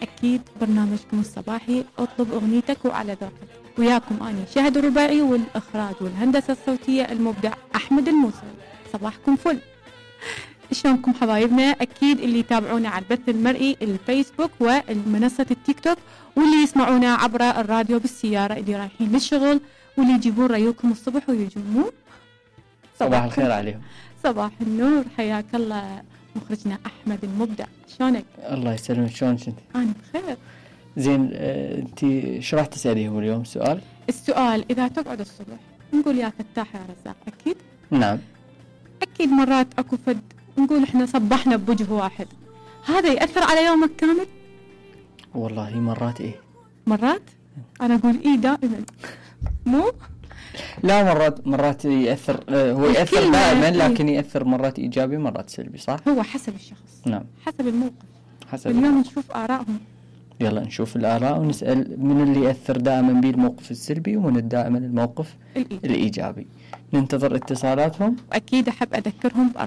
أكيد برنامجكم الصباحي اطلب أغنيتك وعلى ذوقك. وياكم أني شهد الرباعي، والإخراج والهندسة الصوتية المبدع أحمد الموسوي. صباحكم فل. شلونكم حبايبنا؟ أكيد اللي يتابعونا على البث المرئي الفيسبوك والمنصة التيك توك، واللي يسمعونا عبر الراديو بالسيارة اللي رايحين للشغل، واللي يجيبون ريوكم الصبح ويجون. صباح الخير عليهم. صباح النور، حياك الله مخرجنا أحمد المبدع. شلونك؟ الله يسلمك، شلونك انت؟ أنا بخير. زين، انت شو راح تسأليه اليوم؟ السؤال إذا تقعد الصبح نقول يا فتاح يا رزاق، أكيد؟ نعم. أكيد مرات أكو فد نقول إحنا صبحنا بوجه واحد، هذا يأثر على يومك كامل؟ والله مرات إيه، مرات أنا أقول إيه دائما. مو لا، مرات يأثر. هو يأثر دائما، لكن يأثر مرات إيجابي مرات سلبي، صح؟ هو حسب الشخص. نعم، حسب الموقف. حسب اليوم نشوف آرائهم. يلا نشوف الآراء ونسأل من اللي يأثر دائما بالموقف السلبي ومن دائما الموقف الإيجابي. ننتظر اتصالاتهم، وأكيد أحب أذكرهم بأرقام